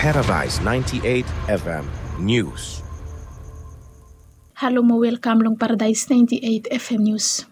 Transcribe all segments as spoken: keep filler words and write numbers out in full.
Paradise ninety-eight F M News. Halo mo welkam long Paradise ninety-eight F M News.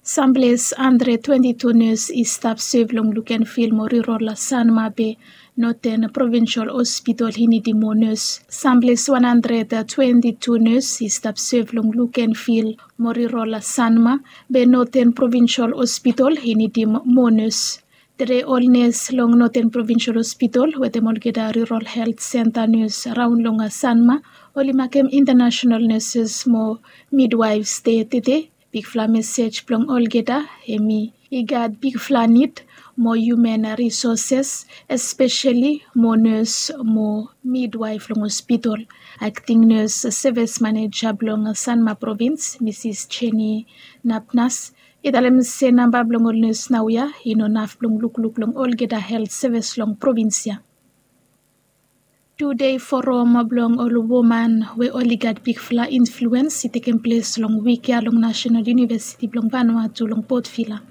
Samples hundred twenty-two nurse i stap sev long look and feel mo rirol Sanma be Northern Provincial Hospital i nidim mo nurse. Samples one hundred twenty-two nurse i stap sev long look and feel mo rirol Sanma be Northern Provincial Hospital i nidim mo nurse. Tede ol nes long Northern Provincial Hospital wetem olgeta Rural Health Center nes raon long Sanma oli makem international nurses mo midwives de tede. Bigfala mesej blong olgeta hemi i gat bigfala nid mo human resources, especially mo nurse mo midwife long hospital. Acting nurse service manager blong Sanma Province, Mrs Jenny Napnas, i talem se namba blong ol nes naoia i no naf blong lukluk long olgeta health service long provins ya. Tudei forum blong ol woman we oli gat bigfala influens i tekem ples long wik ya long National University blong Vanuatu long Port Vila.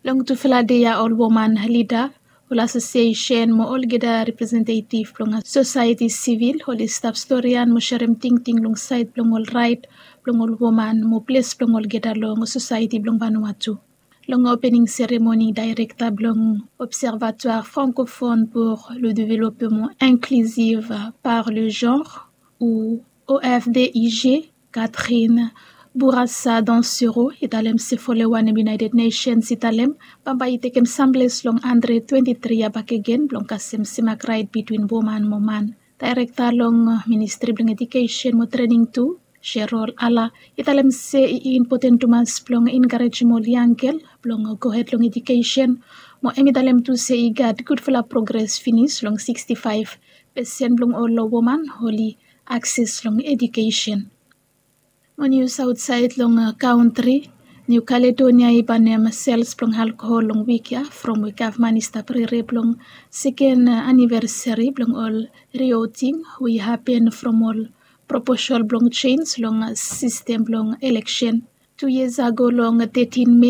Long tufala dei ya ol woman lida, ol asosiesen mo olgeta representetiv blong sosaeti sivil oli stap storian mo serem tingting long saed blong ol raet blong ol woman mo ples blong olgeta long sosaeti blong Vanuatu. Long opening seremoni, daerekta blong Observatoire Francophone pour le Développement Inclusif par le Genre, ou O F D I G, Catherine Bourassa Dansero i talem se folewan hem United Nations i talem bambae i tekem samples long hundred twenty-three ya bakegen blong kasem semak raet bitwin woman mo man. Daerekta long Ministri blong Edukesen mo Trening tu, Sherol Ala, i talem se i impoten tumas blong enkarejem ol yang gel blong gohed long edukesen, mo hem i talem tu se i gat gudfala progres finis long sikstifaef pesen blong ol woman oli akses long edukesen. Mo nius aotsaed long kantri, New Caledonia i banem sels blong alkohol long wik ya from we gavman i stap rere blong seken anivesari blong ol rioting we i hapen from ol proposal blong jens long sistem blong eleksen. Tu yias ago long tetin Mei,